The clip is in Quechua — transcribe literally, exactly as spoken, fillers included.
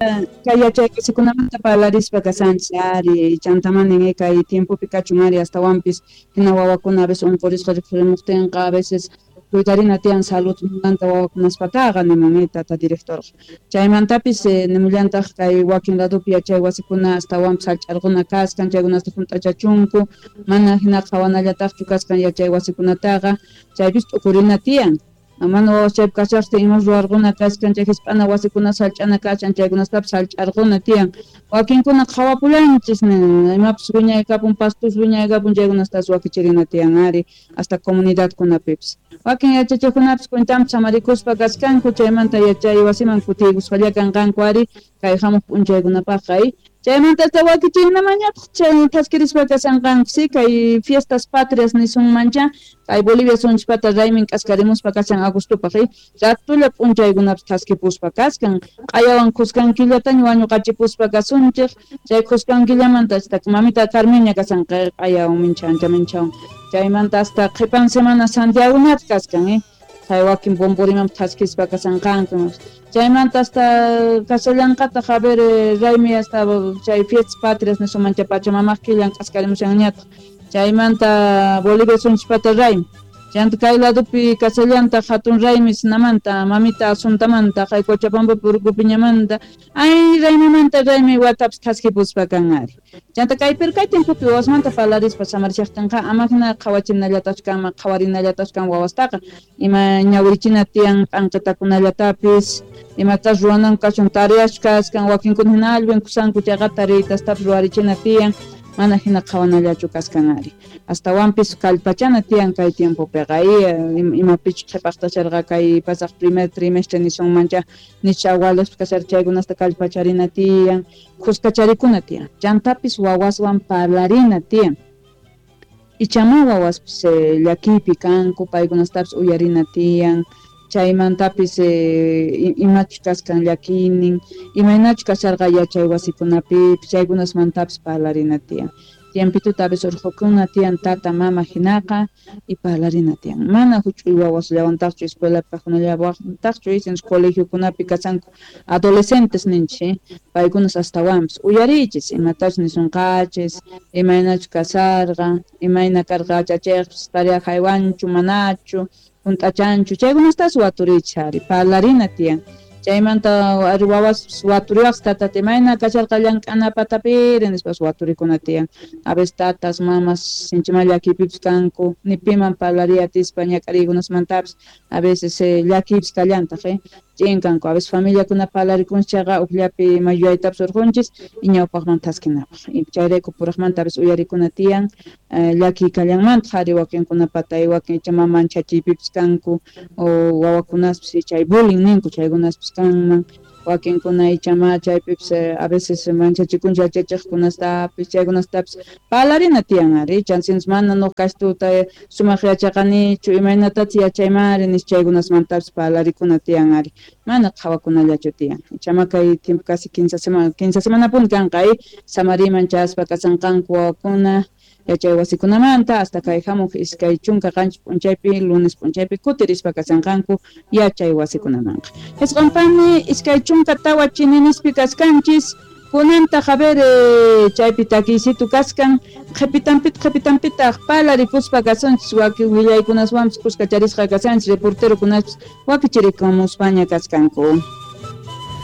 Kay yachay wasikunamanta parlarispa kashanchis ari, chantamanin kay tiempopi kachun ari astawanpis hina wawakuna a veces unqurisqa rikhurimuqtinqa a veces cuidarina tiyan saludmanta wawakunaspataqa nimun tata directorqa. Chaymantapis nimullantaq kay wakin ladopi yachay wasikuna astawanpis hallch'arquna kaskan chaykunasta hunt'achachunku mana hina qhawanallataqchu kaskan yachay wasikunataqa chaypis t'ukurina tiyan. Mana wawas chaypi kashaqtin imas ruwarquna kaskan chay hisp'ana wasikuna sallch'ana kashan chaykunastapis hallch'arquna tiyan. Wakinkuna qhawapullanchis imapis wiñaykapun pastus wiñaykapun chaykunastas wakichirina tiyan ari hasta comunidadkunapipis. Wakin yachachiqkunapis cuentanpi samarikuspa kaskanku chaymanta yachay wasiman kutiykusqalla kanqanku ari kay hamuq p'unchaykunapaqqa. Chaymanta hasta wakichiykunamañataq chay thaskirispa kashanqanku si kay fiestas patrias nisunmancha kay Bolivia sunchpata raymin k'askarimuspa kashan agostopaq ratulla p'unchaykunapis thaskipuspa kaskan q'ayawan khuskan killataña wañuqachipuspa kasunchik chay khuskan killamanta hasta mamita Carmiña kashan q'ayawan mincha ancha minchawan chaymanta hasta qhipan semana Santiagoñataq kaskan eh chay wakin bomborimanpas thaskispa kashanqanku chaymanta hasta kashallanqataq a ver raymi hasta chay fiestas patrias nisunmancha Pachamamaq killan k'askarimushanñataq chaymanta Bolivia sunchpata raymi chayanta kay ladopi kashallantaq hatun raymi sinamanta mamita Asuntamanta kay Cochabambapi Urcupiñamanta ay raymimanta raymi watapis thaskipuspa kan ari. Chanta kay pirkay tiempopi wawasmanta parlarispa samarishaqtinqa ama hina qhawachinallataqchu kanman qhawarinallataqchu kan wawastaqa ima ñawirichina tiyan p'anqitakunallatapis imatas ruwanan kachun tareaschu kaskan wakinkuna hina allin kusanku chayqa tareytastapis ruwarichina tiyan mana hina qhawanallachu kaskan ari. Astawanpis kallpachana tiyan kay tiempopiqa imapichu qhipaqtasharqa kay pasaq primer trimestre nisunmancha nicha agualaspi kasharqa chaykunasta kallpacharina tiyan khuskacharikuna tiyan chantapis wawaswan parlarina tiyan. Ichama wawaspis llakiypi kanku paykunastapis uyarina tiyan chaymantapis imachu kaskan llakiynin imaynachu kasharqa yachay wasikunapipis chaykunasmantapis parlarina tiyan. Tiempituta a veces urqukuna tiyan tata mama hinaqa y parlarina tiyan. Mana huch'uy wawasllawantaqchu escuelapi kaqkunallawantaqchu isinchis colegiokunapi kashanku adolescentes ninchis paykunas astawanpis uyariychis imatachus nisunqachis imaynachu kasharqa imayna karqa yachachiqpis tarea haywanchu manachu hunt'achanchu chaykunastas waturiychis ari parlarina tiyan. Chaymanta ari wawas waturiwaqsi tatata imayna kasharqa llank'ana patapiri nispas waturikuna tiyan. A veces tatas mamas sinchima llakiypipis kanku ni piman parlariy atispa ñak'ariykunasmantapis a veces llakiypis kallantaq eh ch'in kanku a veces familiakuna parlarikunchis chayqa ukllapi ima yuyaytapis urqunchis y ñawpaqman thaskinapaq chayrayku puraqmanta a veces uyarikuna tiyan llakiy kallanmantaq ari wakinkunapata wakin icha mama manchachiypipis kanku o wawakunaspis chay bullying ninku chaykunaspis kanman wakinkuna ichama chaypipis a veces manchachikunchik yachachiqkunastapis chaykunastapis parlarina tiyan ari chansinchis mana nuqa kashtuta sumaq yachaqanichu imaynatachu yachaymari nispa chaykunasmantapis parlarikuna tiyan ari mana qhawakunallachu tiyan ichama kay tiempo casi quince semana quince semanapuni kanqa samariman chaspa kashanqanku wawakuna yachay wasikunamanta hasta kay hamuq iskay chunka qanchis p'unchaypi lunes p'unchaypi kutirispa kashanqanku yachay wasikunamanqa. Hesqanpami iskay chunka tawa chininispi kaskanchis kunantaq a ver chaypi takiysitu kaskan qhipitanpita qhipitanpitaq parlarikuspa kasunchis wakin willaykunaswanpis kuskacharisqa kashanchis reporterokunaspis wakichirikamuspaña kaskanku.